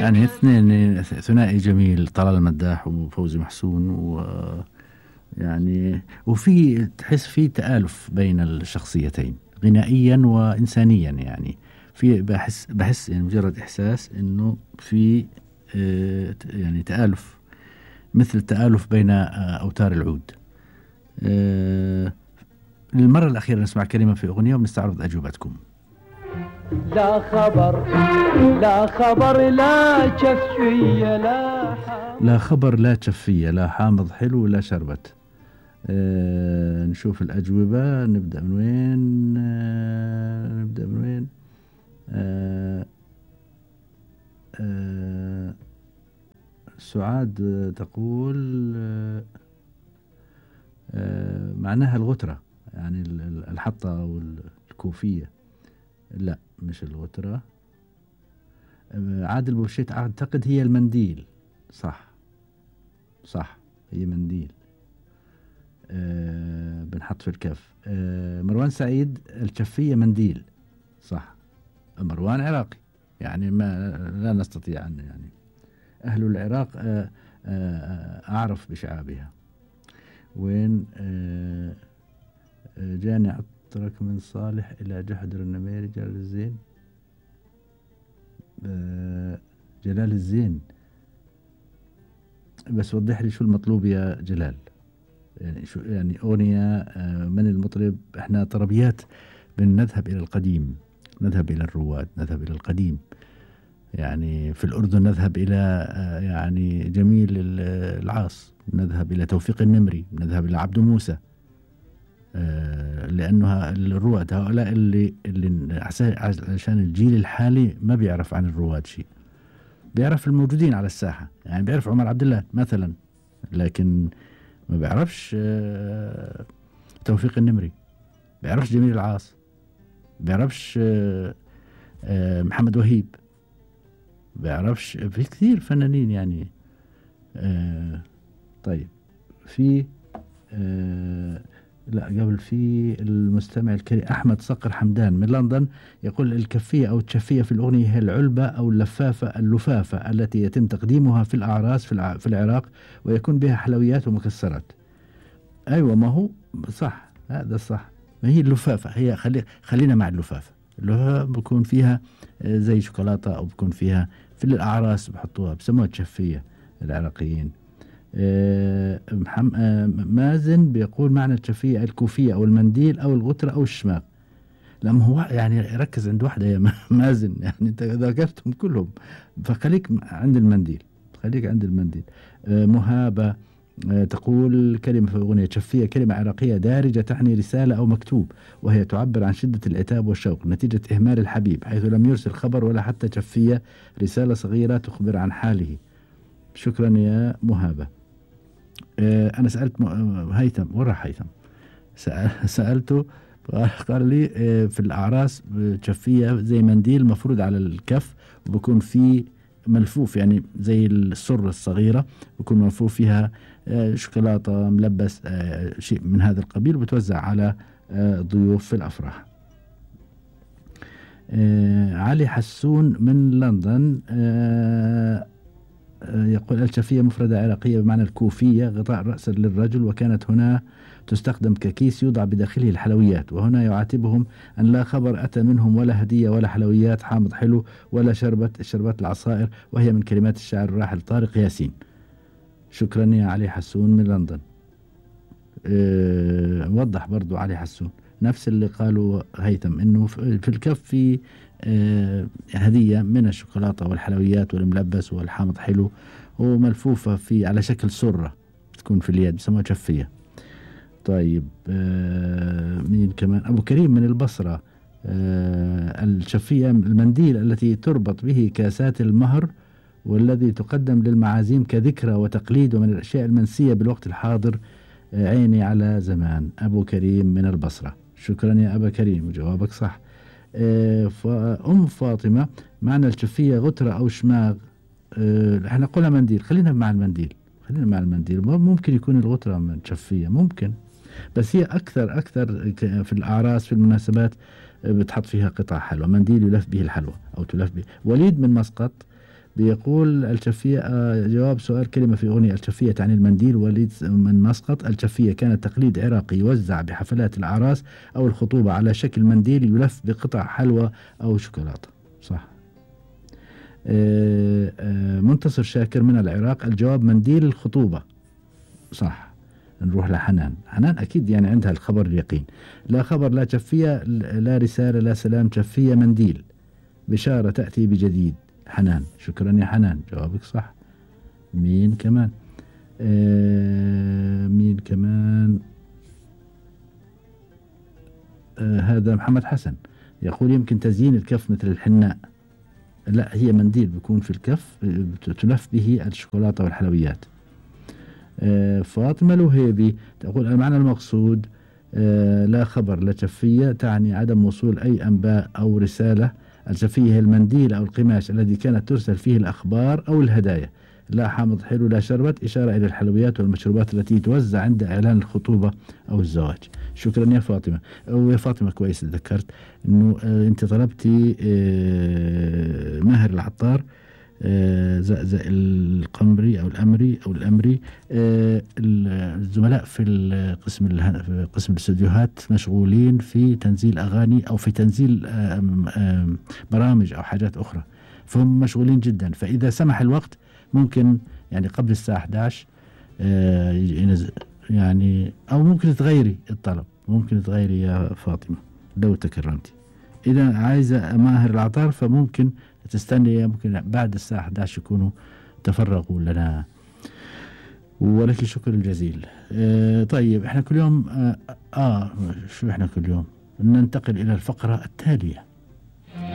يعني اثنين ثنائي جميل، طلال المداح وفوزي محسون، ويعني وفي تحس في تآلف بين الشخصيتين غنائيا وإنسانيا. يعني في بحس يعني مجرد إحساس إنه في يعني تآلف، مثل التآلف بين أوتار العود. للمرة الأخيرة نسمع كلمة في أغنية ونستعرض أجوبتكم. لا خبر لا خبر لا شفية لا خبر لا شفية، لا حامض حلو لا شربت. نشوف الأجوبة. نبدأ من وين؟ سعاد تقول معناها الغترة، يعني الحطة أو الكوفية. لا مش الغترة. عادل بوشيت أعتقد هي المنديل. صح هي منديل. بنحط في الكف. مروان سعيد الشفية منديل. صح. مروان عراقي، يعني ما لا نستطيع أن يعني أهل العراق أعرف بشعابها. وين؟ جاني عطرك من صالح إلى جحدر النميري جلال الزين. جلال الزين، بس وضح لي شو المطلوب يا جلال. يعني شو يعني أغنية من المطرب؟ احنا طربيات بنذهب إلى القديم، نذهب إلى الرواد، نذهب إلى القديم. يعني في الأردن نذهب إلى يعني جميل العاص، نذهب إلى توفيق النمري، نذهب إلى عبد موسى. لأنه الرواد هؤلاء اللي عشان الجيل الحالي ما بيعرف عن الرواد شيء، بيعرف الموجودين على الساحة. يعني بيعرف عمر عبد الله مثلا، لكن ما بيعرفش توفيق النمري، بيعرفش جميل العاص، بيعرفش محمد وهيب، بيعرفش في كثير فنانين يعني. طيب في لا قبل، في المستمع الكريم أحمد صقر حمدان من لندن يقول الكفية أو التشفية في الأغنية هي العلبة أو اللفافة التي يتم تقديمها في الأعراس في العراق، ويكون بها حلويات ومكسرات. أيوة ما هو صح، هذا صح. ما هي اللفافة، هي خلينا مع اللفافة اللي بكون فيها زي شوكولاتة، أو بكون فيها في الأعراس بحطوها بسموها تشفية العراقيين. مازن بيقول معنى التشفية الكوفية أو المنديل أو الغترة أو الشماغ. لما هو يعني ركز عند واحدة يا مازن، يعني أنت ذكرتهم كلهم، فخليك عند المنديل، خليك عند المنديل. مهابة تقول كلمة في أغنية تشفية كلمة عراقية دارجة تعني رسالة أو مكتوب، وهي تعبر عن شدة العتاب والشوق نتيجة إهمال الحبيب، حيث لم يرسل خبر ولا حتى تشفية، رسالة صغيرة تخبر عن حاله. شكرا يا مهابة. أنا سألت هيثم، ورا هيثم سألته قال لي في الأعراس تشفية زي منديل مفروض على الكف، وبكون فيه ملفوف يعني زي السرة الصغيرة، بكون ملفوف فيها شوكولاتة ملبس شيء من هذا القبيل، وبتوزع على ضيوف في الأفراح. علي حسون من لندن يقول الشفية مفردة عراقية بمعنى الكوفية، غطاء رأس للرجل، وكانت هنا تستخدم ككيس يوضع بداخله الحلويات، وهنا يعاتبهم أن لا خبر أتى منهم ولا هدية ولا حلويات حامض حلو ولا شربت العصائر، وهي من كلمات الشاعر الراحل طارق ياسين. شكرا يا علي حسون من لندن. وضح برضو علي حسون نفس اللي قالوا هيثم، انه في الكف في هدية من الشوكولاتة والحلويات والملبس والحامض حلو، وملفوفة في على شكل سرة تكون في اليد، بسموها شفية. طيب مين كمان؟ أبو كريم من البصرة. الشفية المنديل التي تربط به كاسات المهر، والذي تقدم للمعازيم كذكرى وتقليد، ومن الأشياء المنسية بالوقت الحاضر. عيني على زمان. أبو كريم من البصرة. شكرا يا أبا كريم، وجوابك صح. أم فاطمة معنى الشفية غترة أو شماغ. احنا قلنا منديل، خلينا مع المنديل. ممكن يكون الغترة من شفية، ممكن، بس هي أكثر في الأعراس في المناسبات بتحط فيها قطع حلوى، منديل يلف به الحلوى أو تلف به. وليد من مسقط بيقول الجفية جواب سؤال كلمة في أغنية. الجفية تعني المنديل. وليد من مسقط. الجفية كانت تقليد عراقي يوزع بحفلات الأعراس أو الخطوبة على شكل منديل يلف بقطع حلوى أو شوكولاتة. صح. منتصر شاكر من العراق. الجواب منديل الخطوبة. صح. نروح لحنان. حنان أكيد يعني عندها الخبر اليقين. لا خبر لا جفية لا رسالة لا سلام. جفية منديل. بشارة تأتي بجديد. حنان. شكرا يا حنان جوابك صح. مين كمان؟ مين كمان؟ هذا محمد حسن يقول يمكن تزيين الكف مثل الحناء. لا هي منديل بيكون في الكف تلف به الشوكولاتة والحلويات. فاطمة الوهيبي تقول المعنى المقصود لا خبر لا جفية تعني عدم وصول أي أنباء أو رسالة. الجفية هي المنديل أو القماش الذي كانت ترسل فيه الأخبار أو الهدايا. لا حامض حلو لا شربت إشارة إلى الحلويات والمشروبات التي توزع عند إعلان الخطوبة أو الزواج. شكرا يا فاطمة. ويا فاطمة كويس ذكرت أنه أنت طلبتي ماهر العطار زقزق القمري أو الأمري أو الأمري. الزملاء في قسم الاستديوهات مشغولين في تنزيل أغاني أو في تنزيل برامج أو حاجات أخرى فهم مشغولين جدا. فإذا سمح الوقت ممكن يعني قبل الساعة 11 ينزل يعني أو ممكن تغيري الطلب. ممكن تغيري يا فاطمة لو تكرمتي. إذا عايزة ماهر العطار فممكن تستني ممكن بعد الساعة 11 يكونوا تفرغوا لنا. ولك شكر الجزيل. طيب احنا كل يوم شو احنا كل يوم ننتقل إلى الفقرة التالية.